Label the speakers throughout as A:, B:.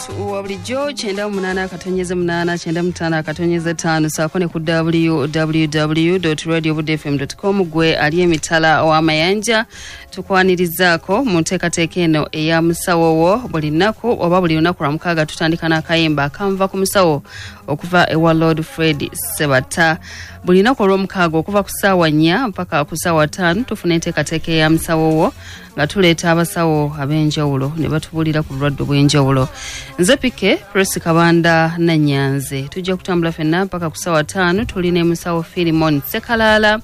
A: Omuntu wa bulijjo 98.8 95.5 saako ne ku www.radiobuddefm.com. Gwe ali emitala ow'amayanja, tukwanirizaako mu nteekateeka eno eya Musawo Wo. Buli nnaku oba buli lunaku lwa mukaaga tutandika n'akayimba akanva ku musawo okuva ewa Lord Fred Sebata. Buli lunaku olw'omukaaga okuva ku ssaawa 4 mpaka ku ssaawa 5 tufuna enteekateeka eya Musawo Wo, nga tuleeta abasawo ab'enjawulo ne batubuulira ku bulwadde obw'enjawulo. Nze Pike Presi Kabanda Nanyanze, tujja kutambula ffenna mpaka ku ssaawa 5. Tuli ne musawo Filimon Sekalaala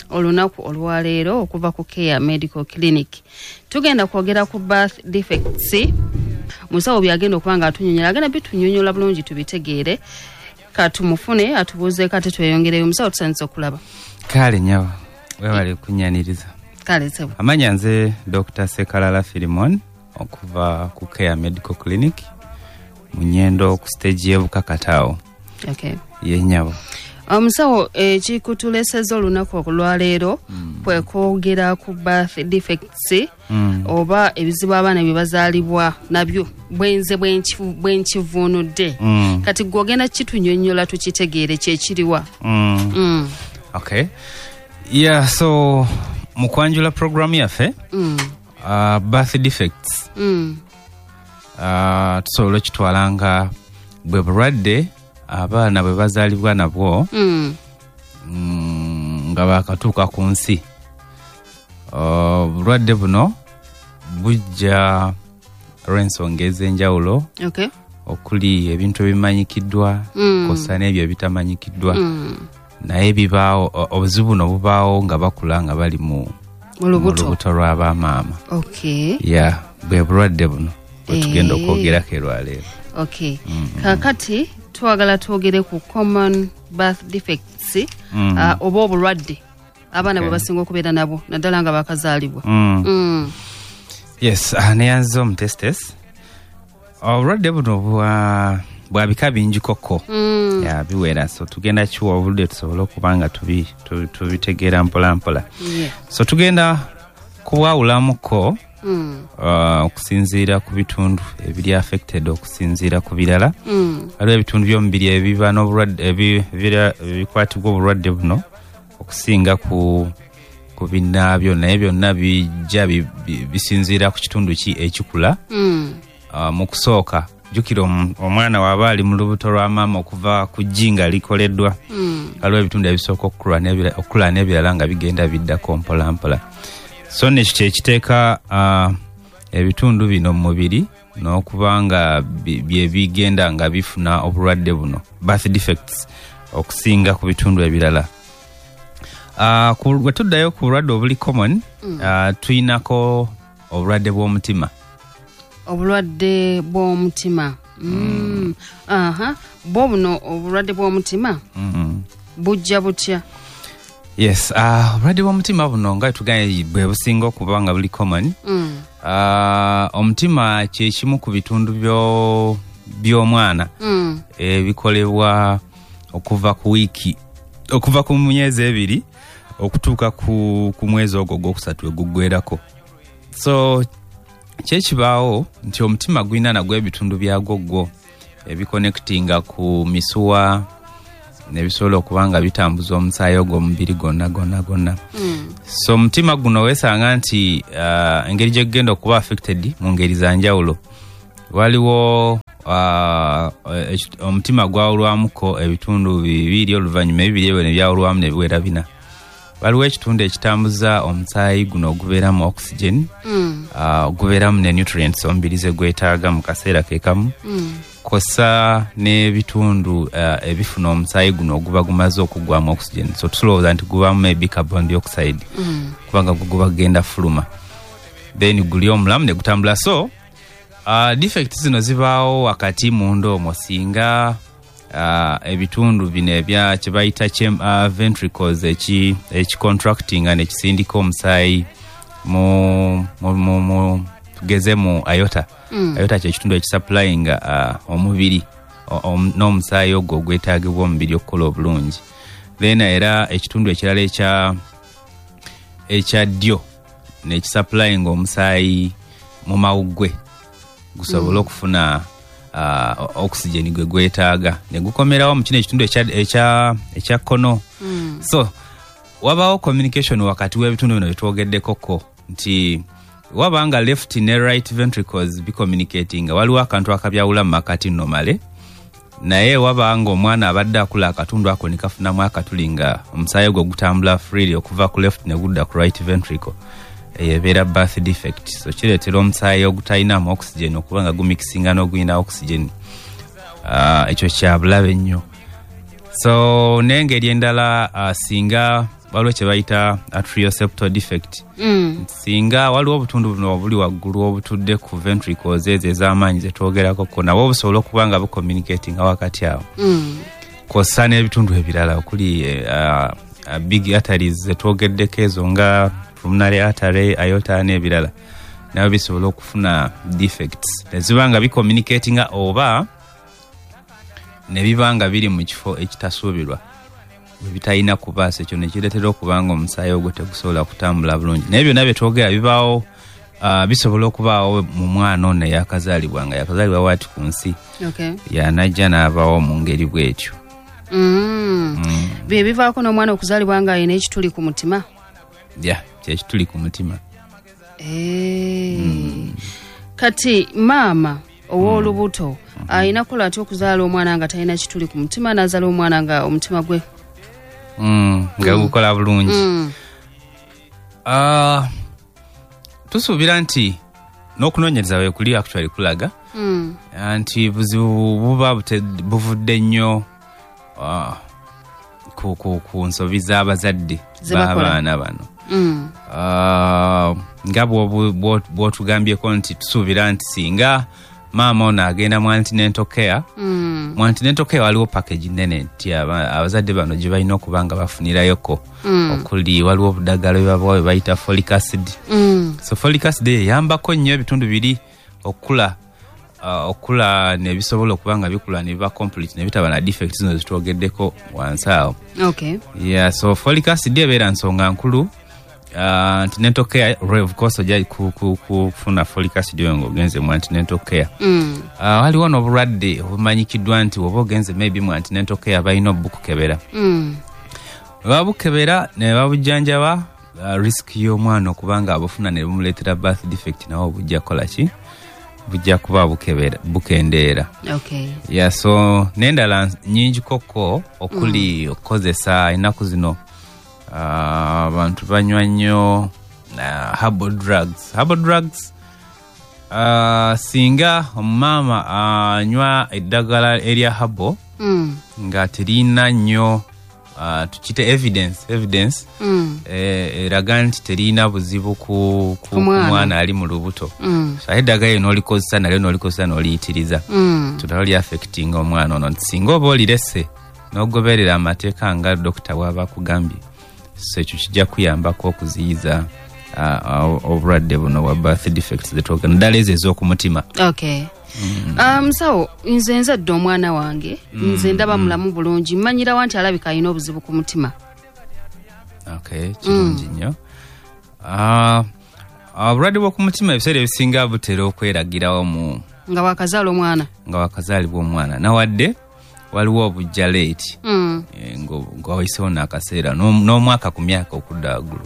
A: olunaku olwaleero okuva ku Care Medical Clinic. Tugenda kwogera ku birth defects. Musawo byagenda okuba nga atunyonyola, agenda bitunyonyola bulungi tubitegeere. Katumufune atubuuzeeko ate tweyongereyo. Musawo, tusanyusa okulaba.
B: Kale nyabo, webale kunyaniriza.
A: Kale sebo.
B: Amanya nze Dr Sekalala Filimon okuva ku Care Medical Clinic mu Nyendo ku stage y'Ebukakataawo. Ye nyabo.
A: Omusawo, ekikutuleseza olunaku olwaleero kwe kwogera ku birth defects oba ebizibu abaana bye bazaalibwa nabyo, bwenze bwenkivuunudde. Kati gwe ogenda kitunyonnyola tukitegeere kyekiriwa.
B: Okay, yeah, so mu kwanjula programu yaffe, birth defects tusobola okitwala nga bwe bulwadde abaana bwe bazaalibwa nabwo nga bakatuuka ku nsi. Obulwadde buno bujja olw'ensonga ez'enjawulo okuli ebintu ebimanyikiddwa kwossa n'ebyo ebitamanyikiddwa, naye bibaawo. Obuzibu buno bubaawo nga bakula, nga bali mu
A: mu lubuto.
B: Lubuto lw'abamaama. Ya, bwe bulwadde buno bwetugenda okwogerako erwaleero.
A: Okay, kakati twagala twogere ku common birth defects oba obulwadde abaana bwe basinga okubeera nabwo, naddala nga bakazaalibwa.
B: Yes, neyanziza omutestesi. Obulwadde buno bwa bika bingi koko, ya, biwera, so tugenda kiwa obudde tusobole okuba nga tubitegeera mpola mpola. So tugenda kubwawulamuko okusinziira ku bitundu ebiri affected okusinziira ku birala. Waliwo ebitundu by'omubiri ebiba n'obulwadde ebikwatibwa obulwadde buno okusinga ku binnaabyo, naye byonna bijja bisinziira ku kitundu ki ekikula. Mu kusooka, jjukira omwana waba ali mu lubuto lwa maama okuva ku ggi nga likoleddwa, waliwo ebitundu ebisooka okukula n'ebirala nga bigenda biddako mpola mpola. So nekyo kyekiteeka ebitundu bino mu mubiri n'okuba nga bye bigenda nga bifuna obulwadde buno, birth defects, okusinga ku bitundu ebirala. Bwe tuddayo ku bulwadde obuli common, tuyinako obulwadde bw'omutima.
A: Obulwadde bw'omutima. Aha, bwo buno obulwadde bw'omutima bujja butya?
B: Yes, obulwadde bw'omutima buno nga tugambye bwe businga okuba nga buli common. Omutima kyekimu ku bitundu by'omwana ebikolebwa okuva ku wiiki, okuva ku myezi 2 okutuuka ku mwezi ogwo ogwokusatu eguggwerako. So kyekibaawo nti omutima gulina nagwo ebitundu byagwo gwo ebiconnectinga ku misuwa nebisobola okuba nga bitambuza omusaayi ogwo omubiri gonna gonna gonna. So omutima guno weesanga nti engeri gye gugenda okuba affected mu ngeri za njawulo, waliwo omutima gwawulwamuko ebitundu bibiri, oluvannyuma ebibiri ebyo ne byawulwamu ne biwera bina. Waliwo ekitundu ekitambuza omusaayi guno ogubeeramu oxygen, ogubeeramu ne nutrients omubiri ze gwetaaga mu kaseera ke kamu, kossa n'ebitundu ebifuna omusaayi guno oguba gumaze okuggwamu oxygen. So tulowooza nti gubaamu maybe carbon dioxide, kubanga gwe guba gugenda fuluma, then guli omulamu ne gutambula. So defect zino zibaawo wakati munda omwo singa ebitundu bino ebya kye bayita ventricles ekicontractinga nekisindika omusaayi mu tugeze mu aorta. Aorta kyekitundu ekisupplyinga omubiri n'omusaayi ogwo ogwetaagibwa omubiri okukola obulungi. Then era ekitundu ekirala ekya ddyo nekisupplyinga omusaayi mu mawuggwe gusobole okufuna Oxygen gwe gwetaaga ne gukomerawo mu kino ekitundu ekya kkono. So wabawo communication wakati w'ebitundu bino byetwogeddeko nti wabanga left ne right ventricles bicommunicating, waliwo akantu akabyawula mu makati normally, naye wabanga omwana abadde akula akatundu ako ne kafunamu akatuli nga omusaayi gwe gutambula freely okuva ku left ne gudda ku right ventricle, eyo ebeera birth defect. So kireetera omusaayi ogutalinamu oxygen okuba nga gumixinga n'ogulina oxygen. Ekyo kya bulabe nnyo. So n'engeri endala, singa waliwo kye bayita atrial septal defect, singa waliwo obutundu buno obuli waggulu obutudde ku ventricles ezo ez'amaanyi zetwogerako, nabwo busobola okuba nga bucommunicatinga wakati awo, kw'ossa n'ebitundu ebirala okuli big arteries zetwogeddeko ezo nga pulmonary artery, aorta n'ebirala, nabyo bisobola okufuna defects ne ziba nga bicommunicatinga oba ne biba nga biri mu kifo ekitasuubirwa bwe bitalina kubaasa, ekyo ne kireetera okuba nga omusaayi ogwo tegusobola kutambula bulungi. Naye byonna bye twogera bibaawo, bisobola okubaawo mu mwana ono eyakazaalibwa nga yakazaalibwa waati ku nsi, yanajja n'abaawo mu ngeri bw'etyo.
A: Bye bivaako n'omwana okuzaalibwa nga alina ekituli ku mutima.
B: Ya, kyekituli ku mutima.
A: Kati maama ow'olubuto alina kukola atya okuzaala omwana nga talina kituli ku mutima, n'azaala omwana nga omutima gwe
B: nga gukola bulungi? Tusuubira nti n'okunoonyereza bwe kuli actually kulaga nti buzibu buba buvudde nnyo ku nsobi z'abazadde b'abaana bano. Nga bw'otugambyeko nti tusuubira nti singa maama ono agenda mu antenatal care, mu antenatal care waliwo package nnene nti abazadde bano gye balina okuba nga bafunirayoko, okuli waliwo obuddagala bwe babawa bwe bayita folic acid. So folic acid eyambako nnyo ebitundu biri okukula, okula ne bisobola okuba nga bikula ne biba complete ne bitaba na defects zino zetwogeddeko wansi awo. Yeah, so folic acid ebeera nsonga nkulu. Antenatal care, of course ojja kufuna folic acid oyo ng'ogenze mu antenatal care. Waliwo n'obulwadde obumanyikiddwa nti oba ogenze maybe mu antenatal care balina obukukebera. Babukebera ne babujjanjaba, risk y'omwana okuba nga abufuna ne bumuleetera birth defect nawo bujja kukola ki? Bujja kuba bukendeera. Yeah, so n'endala nnyingi kokko okuli okukozesa ennaku zino abantu banywa nnyo herbal drugs. Herbal drugs, singa omumaama anywa eddagala erya herbal nga terina nnyo, tukite evidence eraga nti terina buzibu ku mwana ali mu lubuto, so ate eddagala eryo n'olikozesa nalyo n'olikozesa n'oliyitiriza, so nalyo affecting omwana ono. Nti singa oba olirese n'ogoberera amateeka nga dokita bw'aba akugambye, so ekyo kijja kuyambako okuziyiza obulwadde buno bwa birth defects zetwogera, naddala ezo ez'okumutima.
A: Okay. Musawo, nze nzadde omwana wange, nze ndaba mulamu bulungi, mmanyirawa nti alabika alina obuzibu ku mutima?
B: Okay, kirungi nnyo. Obulwadde bw'okumutima ebiseera ebisinga butera okweragirawo mu
A: nga wakazaala omwana.
B: Nga wakazaalibwa omwana, nawadde waliwo obujja late, nga wayisewo n'akaseera n'omwaka ku myaka okudda waggulu,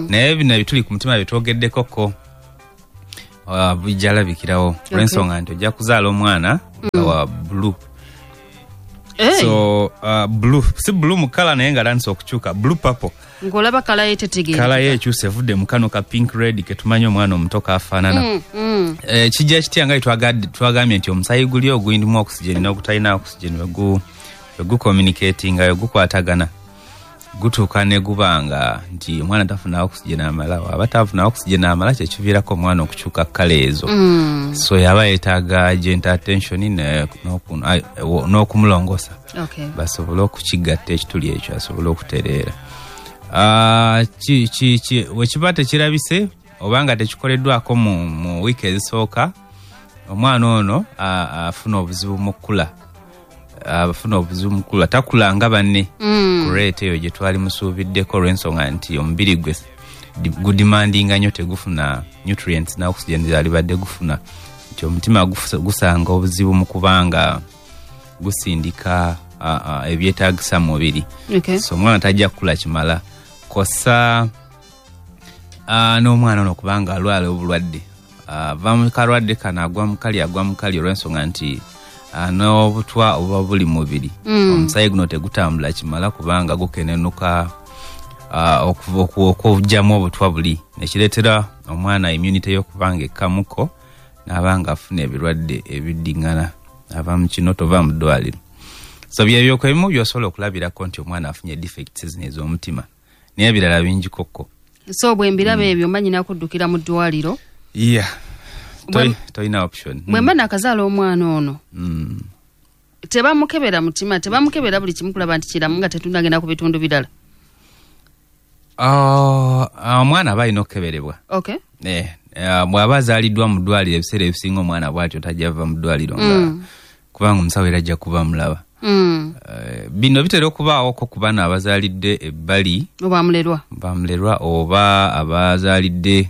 B: naye bino ebituli ku mutima byetwogeddekoko bijja labikirawo olw'ensonga nti ojja kuzaala omwana nga wa blue. So blue si blue mu colour, naye nga atandise okukyuka blue purple.
A: Ng'olaba colour ye tetegeera.
B: Colour ye ekyuse, evudde mu kano ka pink red ketumanyi omwana omuto kafaanana. Kijja kitya? Nga twagambye nti omusaayi guli oguyindimu oxygen n'ogutalina oxygen wegucommunicatinga, wegukwatagana, gutuuka ne guba nga nti omwana tafuna oxygen amala. Aba tafuna oxygen amala, kyekiviirako omwana okukyuka colour ezo. So yaba yeetaaga gentle attention n'okumulongosa basobole okukigatta ekituli ekyo asobole okutereera. Wekiba tekirabise oba nga tekikoleddwako mu wiiki ezisooka, omwana ono afuna obuzibu mu kkula, afuna obuzibu mu kkula, takula nga banne ku rate eyo gye twali musuubiddeko, olw'ensonga nti omubiri gwe gudemandinga nnyo, tegufuna nutrients na oxygen zalibadde gufuna. Nti omutima gusanga obuzibu mu kubanga gusindika ebyetaagisa mu mubiri. So omwana tajja kukula kimala. Kosa n'omwana ono kubanga alwala obulwadde. Ava mu kalwadde kano agwa mu kali olw'ensonga nti n'obutwa obuba buli mubiri. Omusaayi guno tegutambula kimala kubanga gukenenuka okugyamu obutwa buli, nekireetera omwana immunity y'okubanga ekkamuko n'abanga afuna ebirwadde ebiddiŋŋana, ava mu kino tova mu ddwaliro. So byebyo ebimu by'osobola okulabirako nti omwana afunye defects zino ez'omutima, naye ebirala bingi kokko.
A: So bwe mbiraba ebyo mba nnina kuddukira mu ddwaliro?
B: Yeah, toyina option.
A: Bwe mba nakazaala omwana ono, tebamukebera mutima, tebamukebera buli kimu kulaba nti kiramu nga tetunagenda ku bitundu birala?
B: Omwana aba alina okukeberebwa. Bw'aba azaaliddwa mu ddwaliro, ebiseera ebisinga omwana bw'atyo tajja ava mu ddwaliro nga kubanga omusawo era ajja kuba mulaba. Bino bitera okubaawoko ku baana abazaalidde ebbali,
A: oba
B: oba abazaalidde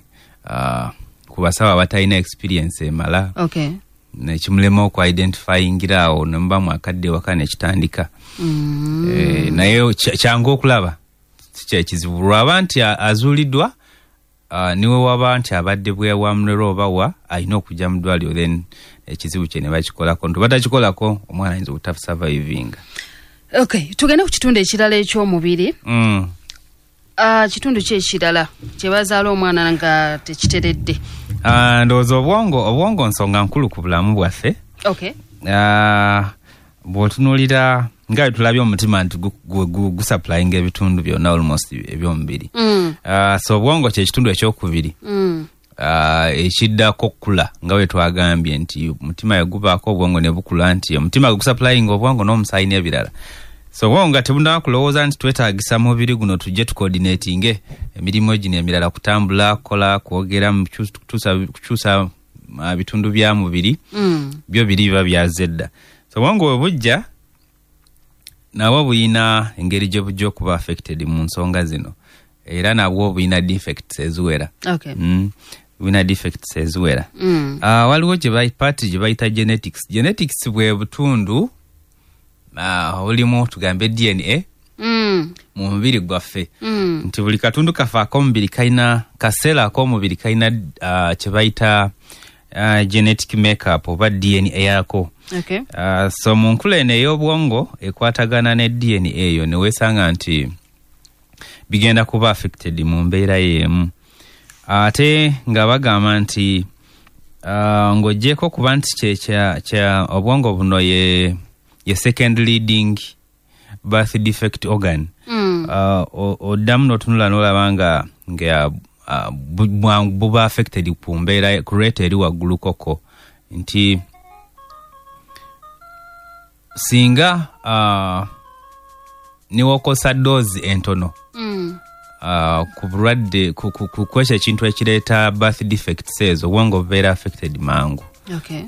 B: ku basawo abatalina experience emala, nekimulema okuidentifyingira awo ne muba mwakadde ewaka nekitandika. Naye kyangu okulaba, si kyekizibu lwaba nti azuuliddwa, niwe waba nti abadde bwewamulero oba wa alina okujja mu ddwaliro, then ekizibu kye ne bakikolako. Nti batakikolako omwana ayinza obutasurvivinga.
A: Tugende ku kitundu ekirala eky'omubiri. Kitundu ki ekirala kye bazaala omwana nga tekiteredde?
B: Ndowooza obwongo nsonga nkulu ku bulamu bwaffe. Bw'otunuulira nga tulabye omutima nti gusupplyinga ebitundu byonna almost ebyomubiri. So obwongo kye kitundu ekyokubiri ekiddako okukula, nga bwe twagambye nti omutima yagubaako obwongo ne bukula, nti omutima gusupplyinga obwongo n'omusaayi n'ebirala. So obwongo nga tebunaba kulowooza nti twetaagisa mubiri guno tujje tucoordinatinge emirimu gino emirala, kutambula, kukola, kwogera, kukyusa bitundu bya mubiri, byo biri biba byazze dda. So obwongo bwe bujja nabwo buyina engeri gye bujja okuba affected mu nsonga zino, era nabwo buyina defects eziwera. Buyina defects eziwera. Waliwo part gye bayita genetics. Genetics bwe butundu obulimu tugambe DNA mu mubiri gwaffe. Nti buli katundu kaffe ak'omubiri kalina kaseera ak'omubiri kalina kye bayita genetic makeup oba DNA yako. So mu nkula eno ey'obwongo ekwatagana ne DNA eyo, ne weesanga nti bigenda kuba affected mu mbeera y'emu. Ate nga bagamba nti ng'oggyeko kuba nti kye obwongo buno ye second leading birth defect organ. Oddamu n'otunula n'olaba nga buba affected ku mbeera ku rate eri waggulu koko, nti singa niwokosa dose entono ku bulwadde ku ekyo ekintu ekireeta birth defects ezo, obwongo bubeera affected mangu.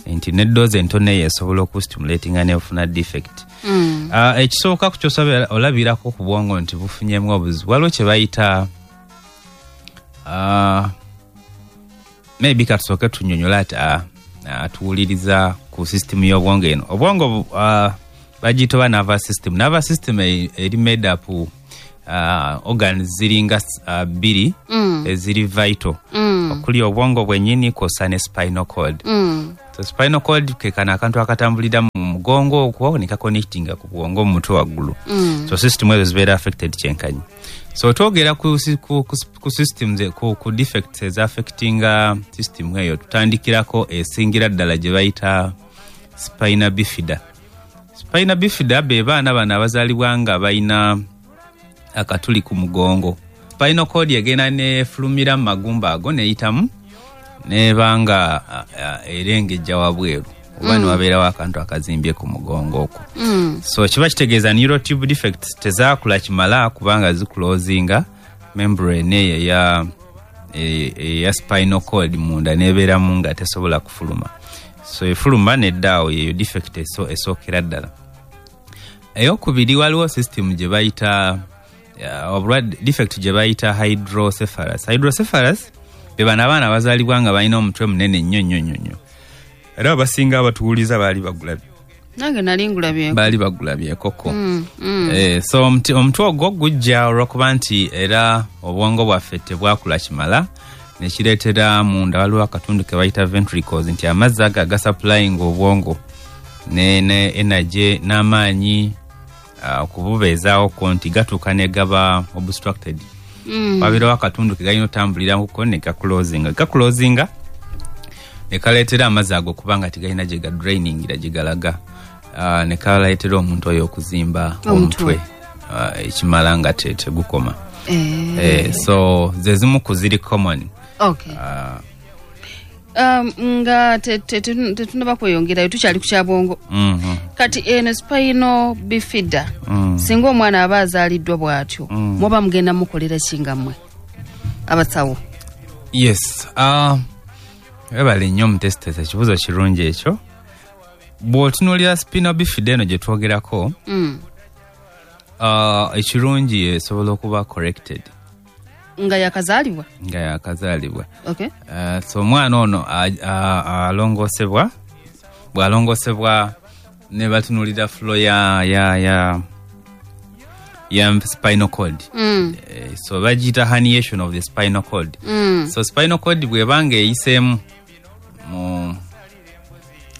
B: Nti ne dose entono eyo esobola okustimulatinga nefuna defect. Ekisooka ku kyosaba olabirako ku bwongo nti bufunyemu obuzibu, waliwo kye bayita maybe katusooke tunyonyola ati atuwuliriza ku system y'obwongo eno. Obwongo bagiyita oba nervous system. Nervous system eri made up organs ziringa bbiri eziri vital, okuli obwongo bwennyini kw'ossa ne spinal cord. So spinal cord ke kano akantu akatambulira mu mugongo okwo ne kaconnectinga ku bwongo mu mutwe waggulu. So system ezo zibeera affected kyenkanyi. So twogera ku systems ku defects ezaffectinga system eyo, tutandikirako esingira ddala gye bayita spina bifida. Spina bifida be baana bano abazaalibwa nga balina akatuli ku mugongo. Spinal cord egenda nefulumira mu magumba ago neyitamu nebanga erengejja wabweru oba newabeerawo akantu akazimbye ku mugongo okwo. So kiba kitegeeza neural tube defects tezaakula kimala kubanga ziclosinga membrane eyo eya spinal cord munda nebeeramu nga tesobola kufuluma. So efuluma neddaawo, yeyo defect esookera ddala. Eyokubiri, waliwo system gye bayita obulwadde defect gye bayita hydrocephalus. Hydrocephalus be bano abaana abazaalibwa nga balina omutwe munene nnyo nnyo nnyo nnyo. Era abasinga abatuwuliza baali bagulabye.
A: Nange nali ngulabyeko.
B: Baali bagulabyekoko. So omutwe ogwo gujja olwokuba nti era obwongo bwaffe tebwakula kimala, nekireetera munda waliwo akatundu ke bayita ventricles, nti amazzi ago agasupplying obwongo ne energy n'amaanyi okububeezaawoko nti gatuuka ne gaba obstructed. Wabeerawo akatundu ke galina otambuliramuko ne gaclosinga ne kaleetera amazzi ago kubanga tegalina gye gadrainingira gye galaga, ne kaleetera omuntu oyo okuzimba omutwe ekimala nga tegukoma. So ze zimu ku ziri common.
A: Okay. Nga tetunaba kweyongerayo, tukyali ku kyabwongo. Kati eno spinal bifida, singa omwana aba azaaliddwa bw'atyo, muba mugenda mukolera ki nga mmwe abasawo?
B: Yes. Webale nnyo omutesitesi, ekibuuzo kirungi ekyo. Bw'otunuulira spinal bifida eno gye twogerako, ekirungi esobola okuba corrected.
A: Nga yakazaalibwa?
B: Nga yakazaalibwa.
A: Okay.
B: So omwana ono alongoosebwa, bw'alongoosebwa ne batunuulira flow ya spinal cord. So bagiyita herniation of the spinal cord. So spinal cord bw'ebanga eyiseemu mu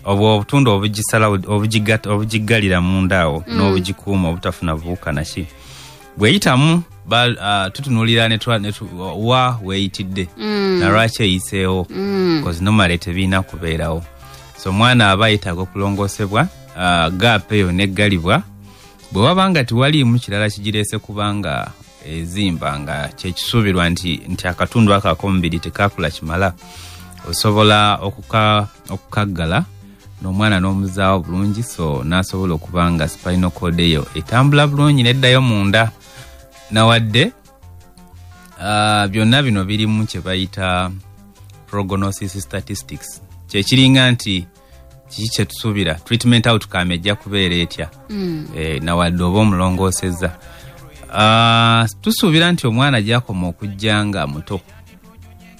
B: obwo obutundu obugisala obugiggalira munda awo n'obugikuuma obutafuna buwuka naki, bweyitamu tutunuulira wa weeyitidde na lwaki eyiseewo, because normally tebirina kubeerawo. So omwana aba yeetaaga okulongoosebwa, gap eyo neggalibwa. Bwe waba nga tewaliimu kirala kigireese kubanga ezimba nga kyekisuubirwa nti akatundu ako ak'omubiri tekakula kimala, osobola okukaggala n'omwana n'omuzaawo bulungi, so n'asobola okuba nga spinal cord eyo etambula bulungi neddayo munda. Nawadde byonna bino birimu kye bayita prognosis statistics, kyekiringa nti kiki kyetusuubira treatment outcome ejja kubeera etya. Nawadde oba omulongoosezza, tusuubira nti omwana gyakoma okujja nga muto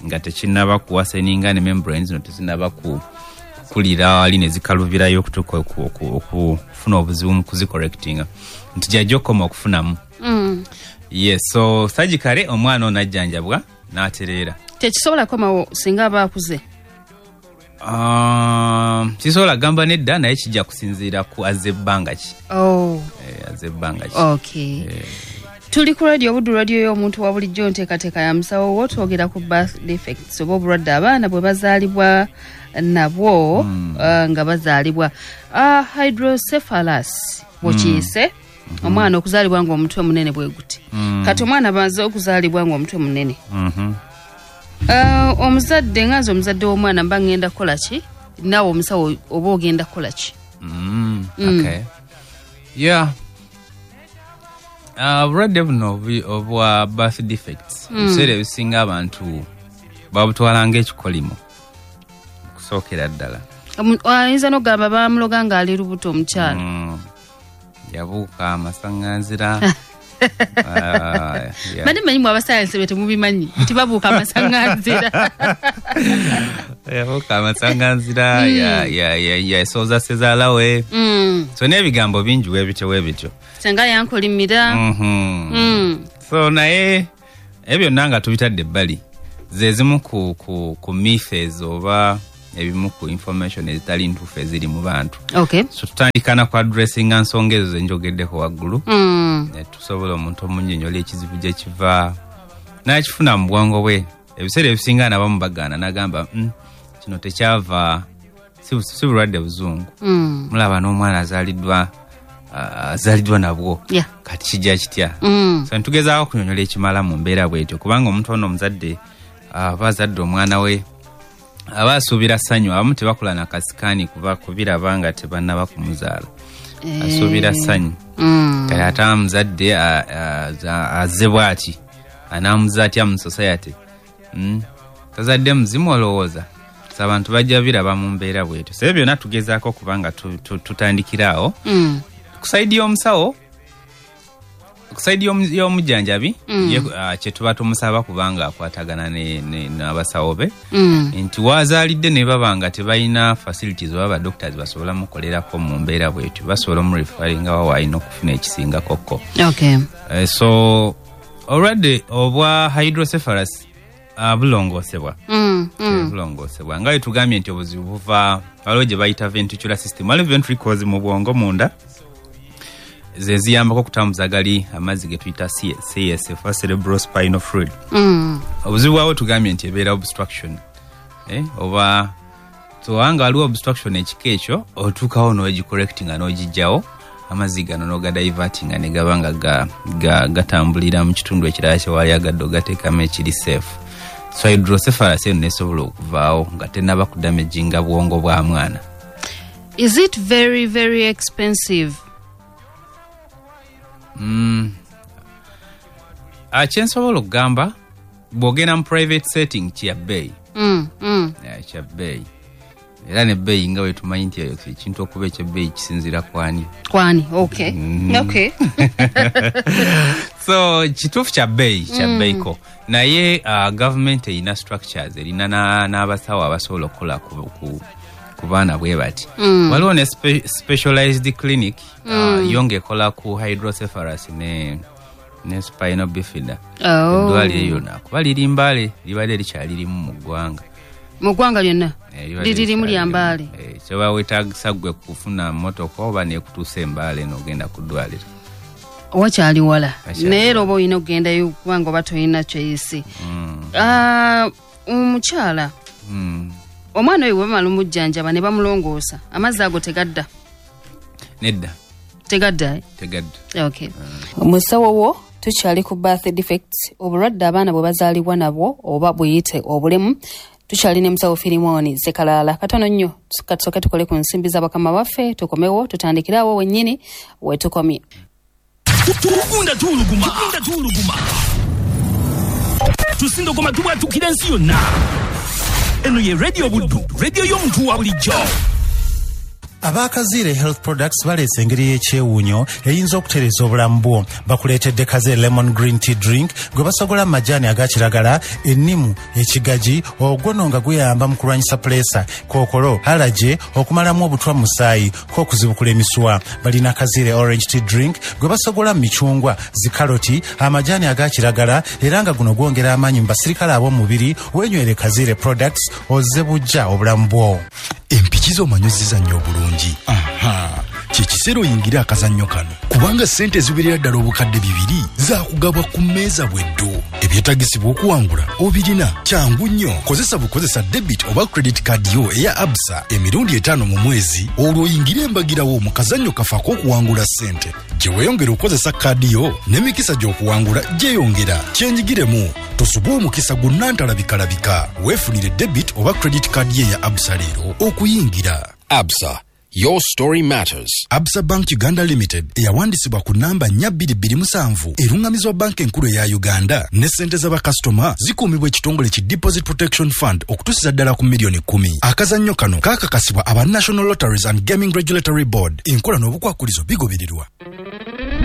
B: nga tekinnaba kuwaseninga ne membranes zino tezinnaba kukulira wali ne zikalubirayo okutuuka okufuna obuzibu mu kuzicorrectinga, nti gyajja okukoma okufunamu. Yes, so surgically omwana ono ajjanjabwa n'atereera.
A: Tekisobola kukomawo singa aba akuze?
B: Sisobola gamba nedda, naye kijja kusinziira ku azze ebbanga ki. Azze ebbanga ki.
A: Okay. Tuli ku radio Buddu, radio y'omuntu wa bulijjo, nteekateeka ya musawo wo. Twogera ku birth defects oba obulwadde abaana bwe bazaalibwa nabwo, nga bazaalibwa. Hydrocephalus bw'okiyise, omwana okuzaalibwa ng'omutwe munene bwe guti. Kati omwana baze okuzaalibwa ng'omutwe munene, omuzadde nga nze omuzadde w'omwana mba ngenda kukola ki? Naawe omusawo oba ogenda kukola ki?
B: Okay. Yeah. Obulwadde buno obwa birth defects, ebiseera ebisinga abantu babutwala ng'ekikolimo okusookera ddala.
A: Ayinza n'okugamba bamuloga ng'ali lubuto omukyala.
B: Yabuuka amasaŋŋanzira.
A: Badde mmanyi mwe abasayansi be temubimanyi nti babuuka amasaŋŋanzira.
B: Yabuuka amasaŋŋanzira, yasooza sezaala we. So n'ebigambo bingi weebityo weebityo.
A: Senga yankolimira.
B: So naye ebyo byonna nga tubitadde ebbali, ze zimu ku myths oba ebimu ku information ezitali ntuufu eziri mu bantu.
A: Okay.
B: So tutandika na ku addressinga nsonga ezo ze njogeddeko waggulu. Ne tusobola omuntu omunnyonnyola ekizibu gye kiva n'akifuna mu bwongo bwe. Ebiseera ebisinga nabamu bagaana n'agamba kino tekyava, si bulwadde buzungu. Mulaba n'omwana azaaliddwa nabwo. Kati kijja kitya? So ntugezaako okunyonnyola ekimala mu mbeera bw'etyo, kubanga omuntu ono omuzadde aba azadde omwana we aba asuubira ssanyu. Abamu tebakula na kasikaani kuba kubiraba nga tebannaba kumuzaala, asuubira ssanyu. Kale ate omuzadde azze bw'ati anaamuza atya mu society? Tazadde muzimu olowooza? So abantu bajja biraba mu mbeera bw'etyo. So ebyo byonna tugezaako kubanga tutandikira awo. Ku side y'omusawo, Ku side y'omujjanjabi, ye, kye tuba tumusaba kubanga akwatagana n'abasawo be nti wazaalidde ne baba nga tebalina facilities oba ba doctors basobola mukolerako mu mbeera bwetyo, basobola omureferringa wa waalina okufuna ekisingakokko. So obulwadde obwa hydrocephalus bulongoosebwa. Bulongoosebwa nga bwe tugambye nti obuzibu buva waliwo gye bayita ventricular system, waliwo ventricles mu bwongo munda ze ziyambako okutambuza gali amazzi ge tuyita CSF, cerebrospinal fluid. Obuzibu bwawo tugambye nti ebeera obstruction, oba towanga waliwo obstruction ekika ekyo, otuukawo n'ogicorrectinga n'ogijjawo, amazzi gano n'ogadivertinga ne gaba nga gatambulira mu kitundu ekirala kyewali agadde ogateekamu ekiri safe. So hydrocephalus eno nesobola okuvaawo nga tenaba kudamaginga bwongo bwa mwana.
A: Is it very very expensive?
B: Kyensobola okugamba, bw'ogenda mu private setting kya bbeeyi. Yeah, kya bbeeyi, era nebbeeyi nga bwe tumanyi nti ekintu okuba ekyebbeeyi kisinziira kwani.
A: Kwani, okay.
B: So kituufu kya bbeeyi, kya bbeeyiko, naye gavumenti erina structures, erina n'abasawo abasobola okukola ku baana bwe bati. Waliwo ne specialized clinic, yo ng'ekola ku hydrocephalus ne spinal bifida. Eddwaliro eryo nakuba liri Mbale, libadde likyali limu mu ggwanga.
A: Mu ggwanga lyonna?
B: Libadde
A: Liririmu
B: likyali
A: lya
B: limu.
A: Mbale?
B: Kyoba weetagisa ggwe kufuna mmotoka oba nekutuusa Embaale n'ogenda ku ddwaliro.
A: Wakyali wala.
B: Wakyali
A: Naye era
B: wala.
A: oba olina okugendayo kubanga oba tolina kyeyisi. Omukyala, omwana oyo bwe bamala omujjanjaba ne bamulongoosa, amazzi ago tegadda?
B: Nedda.
A: Tegadda, eh?
B: Tegadda.
A: Okay. Musawo wo, tukyali ku birth defects, obulwadde abaana bwe bazaalibwa nabwo oba buyite obulemu. Tukyali ne musawo Firimoni Sekalaala. Katono nnyo katusooke tukole ku nsimbi z'abakama baffe, tukomewo tutandikire awo wennyini we tukomye.
C: Tugunda tuwuluguma, tugunda tuwuluguma, tusindogoma, tubwatukira ensi yonna. Eno ye Radio Buddu, radio y'omuntu wa bulijjo.
D: Abakaziire Health Products baleese engeri y'ekyewuunyo eyinza okutereeza obulamu bwo. Bakuleetedde Kaze Lemon Green Tea Drink gwe basogola mu majaani aga kiragala, ennimu, ekigaji, ogwo nga guyamba mu kulwanyisa puleesa, kookolo, allergy, okumalamu obutwa mu musaayi, k'okuzibukula emisuwa. Balina Kaziire Orange Tea Drink gwe basogola mu micungwa, zikaloti, amajaani aga kiragala, era nga guno gwongera amaanyi mu basirikale ab'omubiri. Weenywere Kaziire Products ozze bujja obulamu bwo.
E: Empiki z'omanyi ozizannya obulungi? Aha, kyekiseera oyingire akazannyo kano, kubanga ssente eziwerera ddala 2000 zaakugabwa ku mmeeza bweddo. Ebyetagisibwa okuwangula obirina, kyangu nnyo. Kozesa bukozesa debit oba credit card yo eya Absa emirundi 5 mu mwezi, olwo oyingire embagirawo mu kazannyo kafe ak'okuwangula ssente. Gye weeyongera okukozesa kaadi yo, n'emikisa gy'okuwangula gyeyongera. Kyenyigiremu, tosubwa omukisa gunnantalabikalabika. Weefunire debit oba credit card ye eya Absa leero okuyingira.
F: Absa, your story matters.
E: Absa Bank Uganda Limited eyawandisibwa ku namba 4227, eruŋŋamizibwa Banka Enkulu eya Uganda, ne ssente z'abakasitoma zikuumibwa ekitongole ki Deposit Protection Fund okutuusiza ddala ku miliyoni 10. Akazannyo kano kaakakasibwa aba National Lotteries and Gaming Regulatory Board. Enkola n'obukwakulizo bigobererwa.